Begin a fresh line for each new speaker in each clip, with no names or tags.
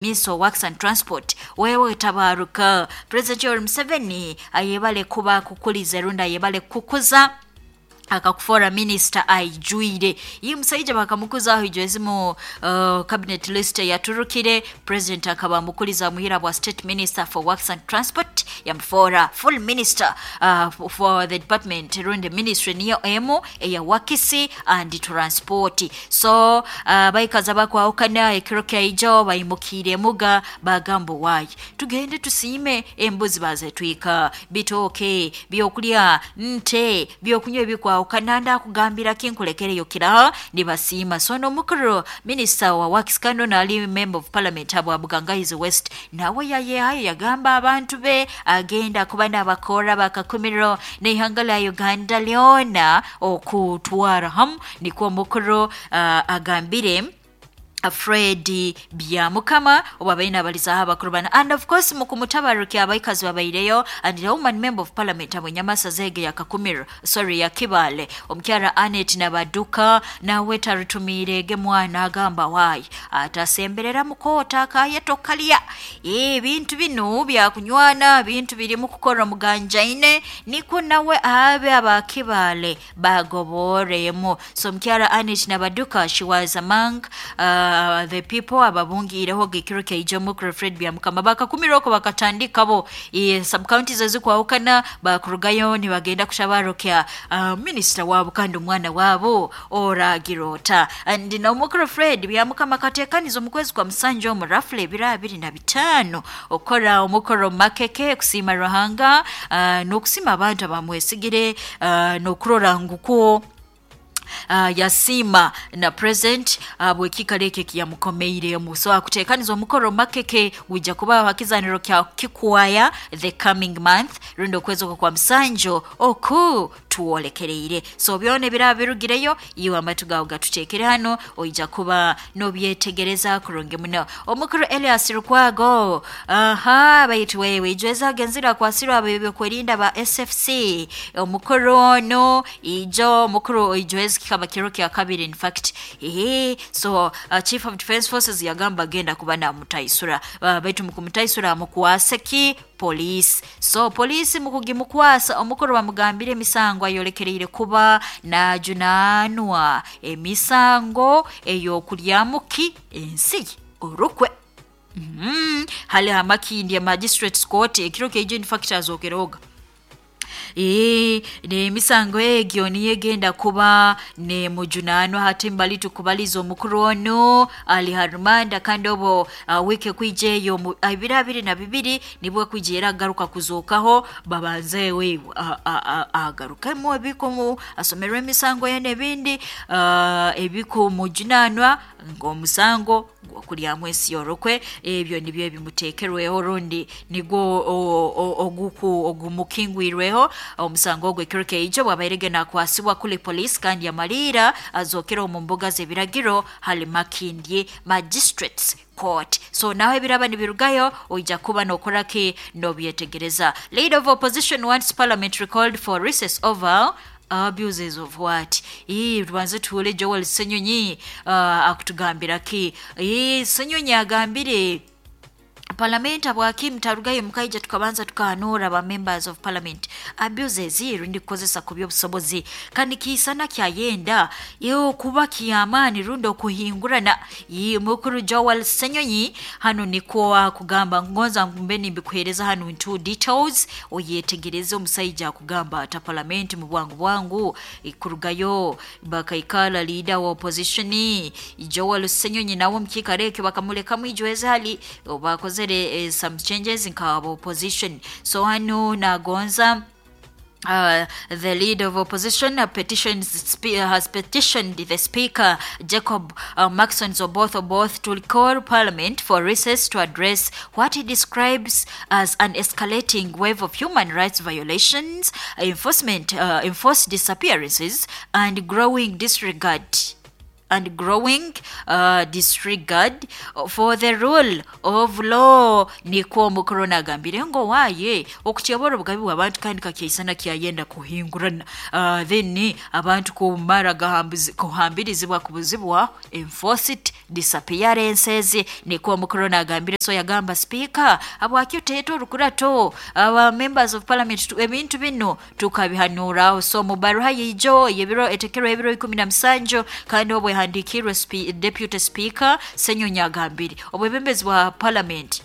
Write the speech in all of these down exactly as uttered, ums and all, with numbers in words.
Minister of Works and Transport wewe tabaruka. President Yoweri Museveni ayebale kuba kukuliza rundi ayebale kukuza akakufora minister aijwire. Iyi musaija bakamukuzaho ijwezimu uh, cabinet list yaturukire, president akaba mukuliza muhira bwa state minister for works and transport, yamufora full minister uh, for the department rundi ministry niyo emu eya works and transport. So uh, baikaza bakwahukana ekiro kyaijo bayimukire muga bagamba wayi tugende tusiime embuzi bazetwika, bitooke, byokulya, nte, byokunywa ebikwa ukananda akugambira kinkulekereyo kira nibasiima. So nomukuru minister wa works kano nali member of parliament abo Bugangaizi West nawe yayehayo yagamba abantu be agenda kuba n'abakora bakakumiro n'ihanga lya Uganda lyona okutwara hamu. Nikwo mukuru uh, agambire Fred Byamukama oba baina abalizaho abakuru bana. And of course mukumutabaruki abaikazi babaireyo and the woman member of parliament abo Nyamasa zege ya Kakumiro, sorry, ya Kibale, omukyara Anet Nabaduka nawe tarutumirege mwana agamba wayi atasemberera mukota akayetokalya ebintu bino byakunywana bintu birimu kukora muganjaine niko nawe abe abakibale bagoboremu. So mukyara Anet Nabaduka, she was among uh, Uh, the people ababungireho gekiro keijomo Fred Byamukama bakakumiroko bakatandikabo e, sub counties ezikwawukana bakurugayo nibagenda kushabarokya uh, minister wabo kandi omwana wabo oragirota. And nomukuru Fred Byamukama katekaniza omukwezi kwa musanju omu roughly ebiro abiri na bitaano okora omukoro makeke kusiima Ruhanga uh, n'okusiima abantu abamwesigire uh, n'okurora nguko Uh, yasiima na present uh, bwekikalo ekyo kiyamukomeiremu. So akutekaniza omukoro makeke gwija kuba hakizaniro kya kikwaya the coming month rundi okwezi okwo kwa musanjo oku tuwolekereire. So byona ebiraba birugireyo iwe amatu gawe gatutekere hano oija kuba nobyetegereza kurungi muno. Omukuru Elias Lukwago aha baitu wewe ijweza agenzira kwasirwa ab'ebyokwerinda ba S F C. Omukuru ono ijo omukuru ijweza kikaba kiro kya kabiri in fact. Ehe, so uh, Chief of Defense Forces yagamba agenda kuba namutaisura uh, baitu mukumutaisura amukwase ki police. So police mukugimukwasa omukuru bamugambire emisango ayolekereire kuba najunanwa emisango eyokulyamuki ensi orukwe. Mm -hmm. Hali hamakindi ya magistrate court ekiro keijo in fact azokeroga ee nemisango egyo niyegenda kuba ne mujunano hati mbali tukubaliza omukuru ono ali harumanda kandi obo uh, wike kwijeyo ebiro abiri na bibiri nibwo kwijera agaruka kuzokaho babanze we agarukemo ebikomu asomerwe emisango ye nebindi uh, ebikumujunanwa ng'omusango gwokulyamu ensi yorokwe ebyo nibyo ebimuteekerweho rundi nigwo oguku ogumukingwirweho omusango ogwo ekiro keijo bwabairege nakwasibwa kuli police kandi yamalira azokera omu mbuga z'ebiragiro hali Makindye Magistrates Court. So naho ebiraba nibirugayo oija kuba nokoraki nobyetegereza. Leader of opposition wants parliament recalled for recess over abuses of what? Ii tubanze tuwule Joel Ssenyonyi uh, akutugambira ki? Ii Ssenyonyi agambire parliament abwaki mtarugayo mukaija tukabanza tukahanura ba members of parliament abuses rundi kukozesa ku by'obusobozi kandi kisana kyayenda yo kuba kiyamani rundi okuhingurana. Mukuru Joel Ssenyonyi hano niko akugamba ngonza mbe nimbikuhereza hano into details oyetegereze omusaija akugamba ata parliament mu bwangu bwangu ikurugayo bakaikala leader wa opposition Joel Ssenyonyi nawo mkikareke bakamulekamu ijweza hali bakoze Uh, some changes in our opposition. So hano nagonza Uh, the leader of opposition uh, petitions uh, has petitioned the speaker Jacob uh, Maxon Oboth Oboth to recall parliament for recess to address what he describes as an escalating wave of human rights violations, enforcement, uh, enforced disappearances, and growing disregard and growing uh, disregard for the rule of law. Nikwo omukuru nagambire ngo waye okutyobora obugabi bw'abantu kandi kakyaisana kyayenda kuhingurana, uh, then abantu kumara kuhambirizibwa kubuzibwa enforced disappearances. Nikwo omukuru nagambire. So yagamba speaker habwaki oteeta orukurato aba members of parliament ebintu bino tukabihanuraho. So mu baruha yijo yebiro etekerwa ebiro ikumi na musanju kandi obwe handikirwe spe, deputy speaker Ssenyonyi agambire obwebembezi bwa parliament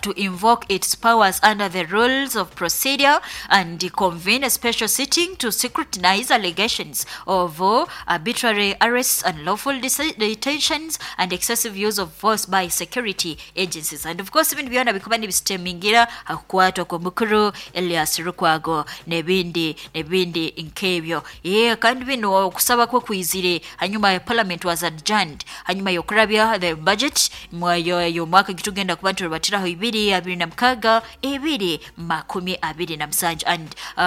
to invoke its powers under the rules of procedure and convene a special sitting to scrutinize allegations of uh, arbitrary arrests, unlawful detentions and excessive use of force by security agencies. And of course ibintu byona bikuba nibisitemingira hakukwatwa kwa mukuru Elias Lukwago nebindi nebindi nkebyo. Yeah, kandi bino okusaba kwe kwizire hanyuma ya parliament was adjourned hanyuma yokurabya the budget mwayo yo mwaka gitugenda kuba turubatiraho ibiri abiri na mukaga ibiri makumi abiri na musanju and uh,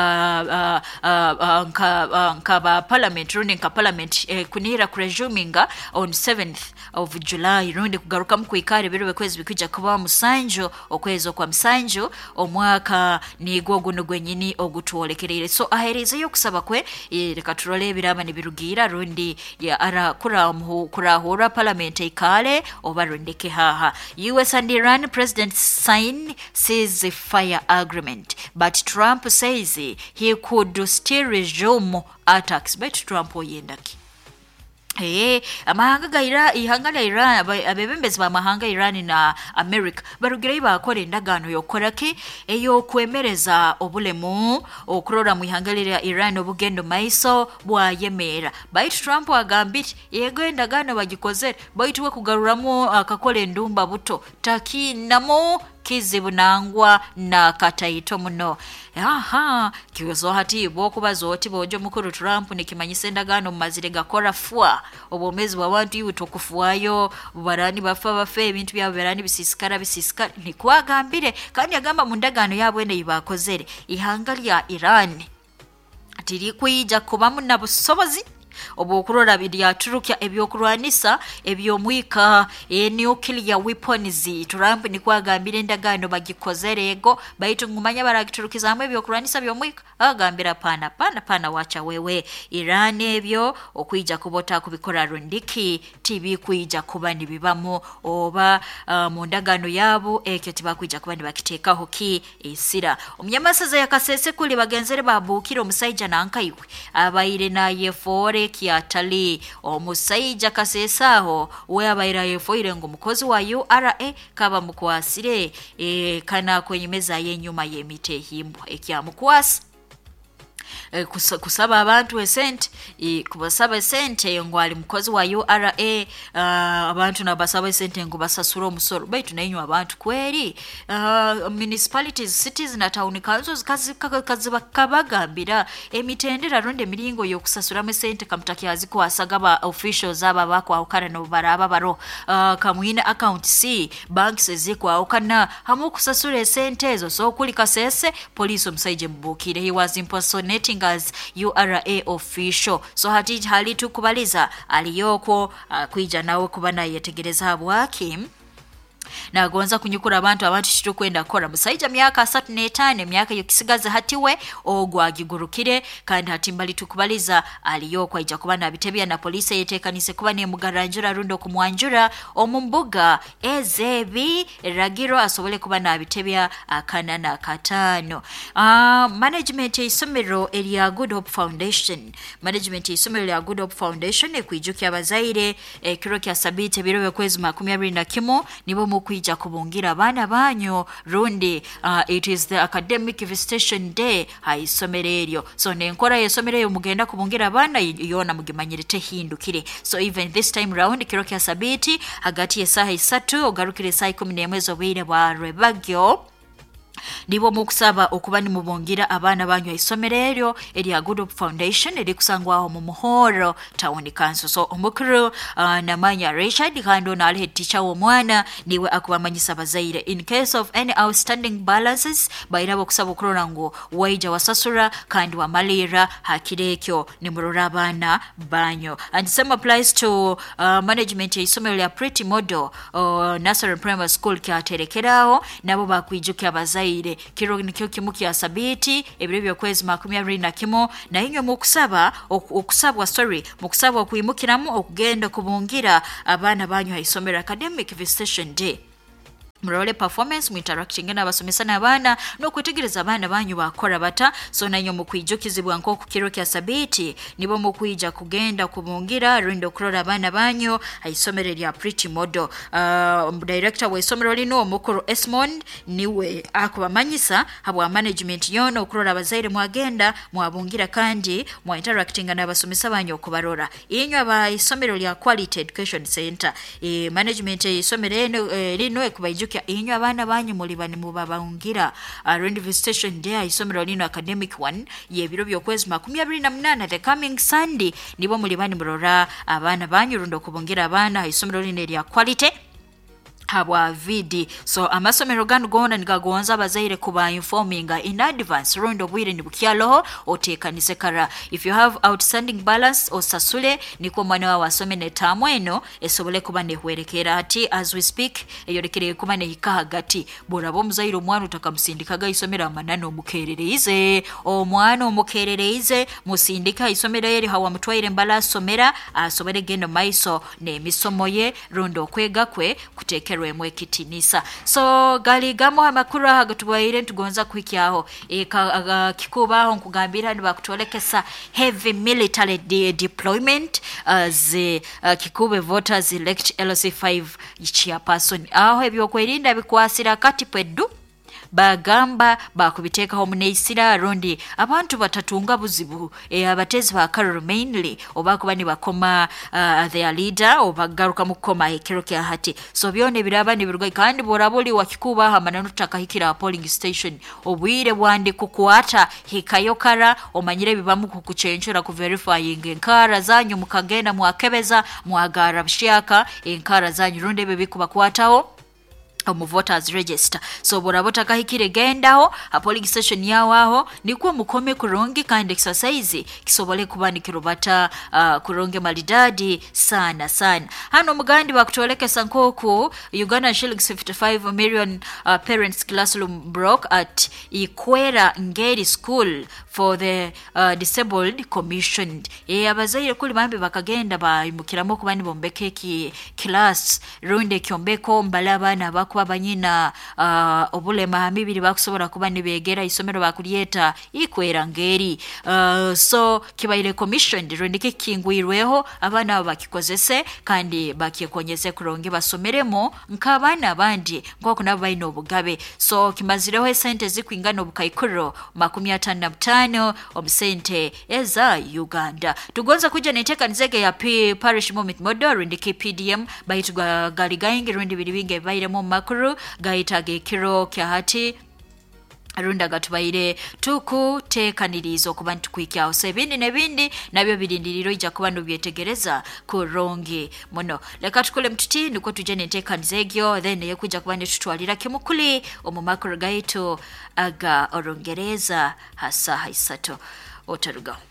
uh, uh, nka, uh, nka ba parliament rundi nka parliament eh, kunihira kuresuminga on seventh of July rundi kugarukamu kwikara ebiro bekwezi bikwijja kuba musanju okwezi okwa musanju omwaka nigwo guno gwenyini ogutwolekereire. So aherezeyo okusaba kwe reka turole ebiraba nibirugiira rundi ya ara kurahura parliament eikale oba rundeke haha. U S and Iran president sign ceasefire agreement, but Trump says he could still resume attacks. But Trump oyendaki Eh, amahanga ga Iran, ihanga lya Iran, abebembezi b'amahanga Iran na America barugireyo bakora endagaano y'okukoraki ey'okwemereza obulemu okurora mu ihanga lya Iran obugendo maiso bwayemeera. Baitu Trump agambire yego endagaano bagikozere baitu we kugaruramu akakola endumba buto takinamo kizibu nangwa na kataito muno. Aha, kiwezo hati bwokubaza oti bojo mukuru Trump nikimanyisa endagaano mumazire gakora fwa obwomezi bw'abantu iwe tokufuayo barani bafa bafe ebintu byabo barani bisisikara bisisikara nikwagambire. Kandi agamba mu ndagaano yabwe ne bakozere ihanga lya Iran tirikwija kubamu na busobozi obukurora byaturukya ebyokurwanisa ebyomwika e nuclear weapons. Trump nikwagambira endagaano bagikozere ego baitu ngumanya baragiturukizamu ebyokurwanisa byomwika agambira pana pana pana wacha wewe Iran ebyo okwija kubota kubikora rundiki tibikwija kuba nibibamu oba uh, mu ndagaano yabo ekyo tibakwija kuba nibakiteekaho ki esira. Omunyamasaza yakasese kuli bagenzere babukira omusaija nankaiwe abaire naye fore kiatali omusaija kasesaho we abaira yefoire ngo mukozi wa U R A kaba mukwasire e, kana kwenyemeza yenyuma yemite himbwa ekyamukwasa e, kusaba abantu esente e, kubasaba esente ngo ali mukozi wa U R A uh, abantu nabasaba esente ngo basasura omusoro baitu nayinywa abantu kweri uh, municipalities cities na town councils kazibakabagambira emitendera ronde emiringo yokusasuramu esente kamutakiazi kwasagaba officials aba bakwawukana nobaraba baro uh, kamwina account C banks ezikwawukana hamu kusasura esente ezo. So kuli Kasese police omusaije mbukire he was impersonating as U R A official. So hati hali tukubaliza aliyoko uh, kwija nawe kuba nayetegereza habwaki nagonza kunyukura abantu abantu kitukwenda kora musaija myaka asatu n'etaano emyaka yokisigaza hatiwe ogwagigurukire kandi hati mbali tukubaliza aliyoko aija kuba nabitebya na polisi yetekanise kuba nemugaranjura rundo kumwanjura omumbuga ezebi ragiro asobole kuba nabitebya akana na katano. Uh, management y'isomero erya Good Hope Foundation management y'isomero erya Good Hope Foundation ekwijukya abazaire ekiro kya sabite biro by'okwezi makumi abiri na kimu nibo mukwija kubungira abaana banyu rundi uh, it is the academic visitation day haisomero eryo. So nenkora y'isomero eyo mugenda kubungira abaana yona mugimanyire tehindukire. So even this time round kiro kya sabiti hagati y'esaha isatu ogarukire esaha ikumi n'emwe z'obwire bwa rwebagyo Nibo mukusaba okuba nimubongira abaana banyu isomero eryo erya Good Hope Foundation erikusangwaho mu Muhoro Town Council. So omukuru uh, namanya Richard kandi ono ali head teacher w'omwana niwe akubamanyisa abazaire in case of any outstanding balances bairabo okusaba okurora ngu waija wasasura kandi wamalira hakiro ekyo nimurora abaana banyu. And same applies to uh, management y'isomero lya Pretty Model uh, Nursery Primary School kyaterekeraho, nabo bakwijukya abazaire kiro nikyo kimu kya sabiti ebiro by'okwezi makumi abiri na kimu, na inywe mukusaba okusabwa sorry mukusabwa okwimukiramu okugenda kubungira abaana banyu ha isomero academic visitation day. Murole performance muinteracting n'abasomesa n'abaana n'okwetegereza abaana banyu bakora bata. So nanyo mukwijukizibwa nk'oku kiro kya sabiti nibo mukwija kugenda kubungira rundi okurora abaana banyu ha isomero lya Pretty Model. Uh, director w'isomero lino omukuru Esmond niwe akubamanyisa habwa management yono okurora abazaire mwagenda mwabungira kandi mwa interacting n'abasomesa banyu okubarora. Inywe aba isomero lya Quality Education Center, e, management y'isomero eno e, lino ekubaijukya inywe abaana banyu muli bani mubabangira uh, rundi visitation day isomero lino academic one yebiro by'okwezi makumi abiri na munana the coming Sunday nibo muli bani murora abaana banyu rundi okubungira abaana isomero lino erya Quality habwa vidi. So amasomero ganu gona nigagonza abazaire kuba informinga in advance rundi obwire nibukyaloho otekanise kara. If you have outstanding balance osasule niko mwana wawe asome netamu eno esobole kuba nehwerekera. Ati as we speak eyorekere kuba nehika hagati boraba omuzaire omwana utakamusindikaga isomero amanano omukerereize omwana omukerereize musindika isomero eri hawa mutwaire mbala asomera asobere gendo maiso n'emisomo ye rundi okwega kwe kutekerwa ekitinisa. So gali gamo amakuru aha gatubaire ntugonza kuhikyaho e, kikubaho nkugambira nibakutolekesa heavy military de deployment as uh, Kikube voters elect L C five chairperson. Aho ebyokwerinda bikwasira kati pwedu bagamba bakubiteekaho muneisira rundi abantu batatunga buzibu e, abatezi ba Karuru mainly oba kuba nibakoma uh, their leader obagaruka mukoma ekiro kya hati. So byone biraba nibiruga kandi borabuli wakikuba hamana nutakahikira polling station obwire bwandi kukwata hikayokara omanyire bibamu kukuchenchura ku verifying enkara zanyu mukagenda mwakebeza mwagara bshaka enkara zanyu rundi ebe bikubakwataho omu voters register. So borabota kahikire gendaho a polling station yawo aho nikuwa mukome kurungi kandi exercise kisobole kuba nikirubata uh, kurungi malidadi sana sana. Hano mugandi bakutolekesa nkoku Uganda shillings fifty-five million uh, parents classroom broke at Ikwera Ngeri School for the uh, disabled commissioned. E abazaire kuli bambi bakagenda bayimukiramo kuba nibombeke ki class runde kyombeko mbala abaana bakuba banyina uh, obulema mibiri bakusobola kuba nibegera isomero bakulyeta Ikwera Ngeri. uh, so kibaire commissioned rundi kikingwirweho abaana abo bakikozese kandi bakikonyeze kuronge basomeremo nk'abaana abandi nk'oku nabo balina obugabe. So kimazireho esente zikwingana obukaikuro makumi atano na butano omusente eza Uganda. Tugonza kuja n'enteekaniza ya P Parish Moment Model rundi K P D M baitu gali gaingi rundi biri bingi ebibairemu makuru gaitaga ekiro kya hati runda gatubaire tukuteekaniriza okuba nitukwikyaho. So ebindi n'ebindi nabyo birindiriro ija kuba nobyetegereza kurungi muno. Leka tukole mtuti niko tuje n'enteekaniza egyo then eyekuja kuba nitutwalira kimukuli omu makuru gaitu aga Orungereza hasaha isatu otarugaho.